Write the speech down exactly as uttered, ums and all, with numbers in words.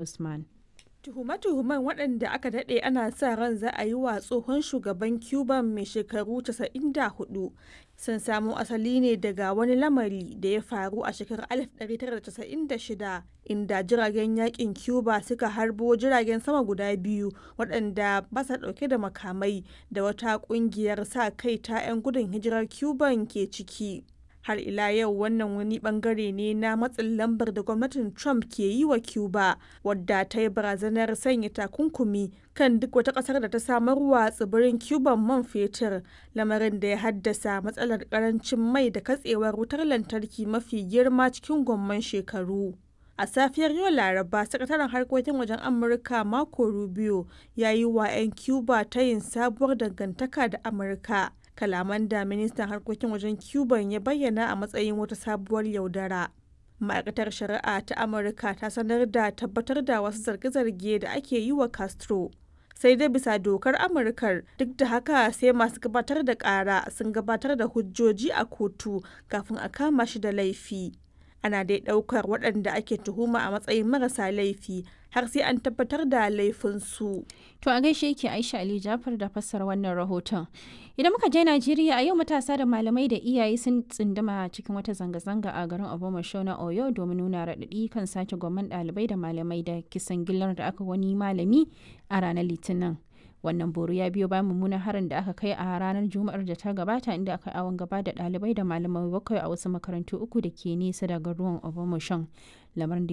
Usman. Tuhume-tuhumen, waɗanda aka daɗe ana sa ran za a yi wa tsohon shugaban Cuban mai shekaru casa'in da hudu, sun samo asali ne daga wani lamari da ya faru a shekarar alif ɗari tara da casa'in da shida, inda jiragen yakin Cuba suka harbo jiragen sama guda biyu waɗanda ba sa ɗauke da makamai da wata ƙungiyar sa-kai ta 'yan gudun hijirar Cuban ke ciki. Har ila yau wannan wani bangare ne na matsin lambar da gwamnatin Trump ke yi wa Cuba, wadda ta yi barazanar sanya takunkumi kan duk wata kasar da ta samarwa tsibirin Cuban man fetur, lamarin da ya haddasa matsalar karancin mai da katsewar wutar lantarki mafi girma cikin gwamman shekaru. A safiyar yau Laraba, Sakataren Harkokin Wajen Amurka Marco Rubio ya yi wa 'yan Cuba tayin sabuwar dangantaka da Amurka, kalaman da ministan harkokin wajen Cuban ya bayyana a matsayin wata sabuwar yaudara. Ma'aikatar Shari'a ta Amurka ta sanar da tabbatar da wasu zarge-zarge da ake yi wa Castro. Sai dai bisa dokar Amurkar, duk da haka sai masu gabatar da kara sun gabatar da hujjoji a kotu kafin a kama shi da laifi. Ana dai ɗaukar waɗanda ake tuhuma a matsayin marasa laifi har sai an tabbatar da laifinsu. To a gaishe yake Aisha Ali Jafar da fassara wannan rahoton. Idan muka je Najeriya a yau, matasa da malamai da iyaye sun tsinduma cikin wata zanga-zanga a garin Obomasho na Oyo domin nuna raɗaɗi kan sace gwamman ɗalibai da malamai da kisan gillar da aka wani malami a ranar Litinin. Wannan boro ya biyo bayan mummunan harin da aka kai a ranar Juma'ar da ta gabata, inda aka awon gaba da ɗalibai da malamai bakwai a wasu makarantu uku da ke nesa da garuwan Obomasho. Lamarin da